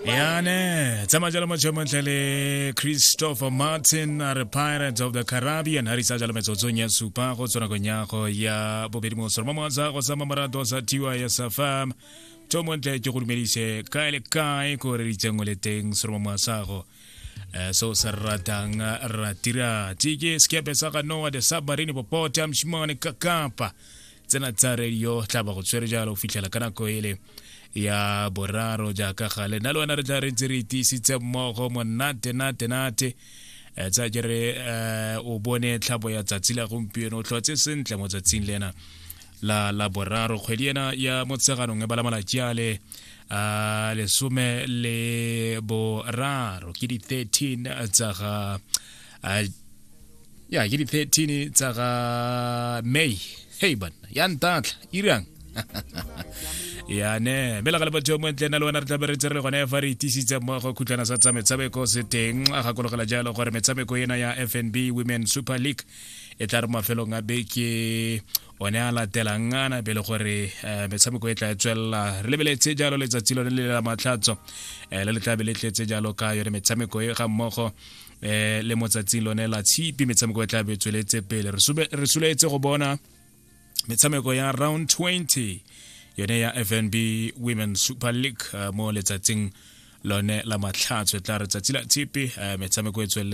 Yane tsamaya jalo motho montle le Christopher Martin a re Pirates of the Caribbean ha risa jalo metsotsong ya supa go tswa nakong ya go ya bobedi mo soro mo tsa go sa marato sa tiwa ya sa fam to montle ke go dumedise kae le kae ko re ritseng o le teng soro mo sa go so se ratang ratira tike skepe sa ga Noah the submarine popota mshimane kakapa tsena tsa radio tla ba go tshwere jalo go fitlhela ka nako ele ya boraro jaaka gale nna le wena re tla re ntse re itiisitse mmogo monate nate nate eh, tsa ke re eh, o bone tlhabo ya tsatsi la gompieno o tlhotse sentle mo tsatsing lena la la boraro kgwedi ena ya motsheganong e bala malatsi a le a lesome le boraro ke di 13 tsa ga ya ke di 13 tsa ga May. Hey banna, ya ntatla irang. Ya ne mme la ga le batho mo ntle na le wena re tlabe re tse re le gone fa re itisitse mmogo khutlwana sa tsa metshameko se teng. A gakologela jalo gore metshameko ena ya FNB Women Super League e tla re mafelong a beke one a latelang ana pele gore metshameko e tla e tswelela. Re lebeletse jalo letsatsi lone le la matlhatso le le tlabe le tletse jalo ka yone metshameko e ga mmogo le mo tsatsing lone la tshipi metshameko e tla be tsweletse pele. Re soletse go bona metshameko ya round 20 yone ya FNB Women Super League mo letsatsing lone la matlhatso e tla re tsatsi la tshipi metshameko e tswelele.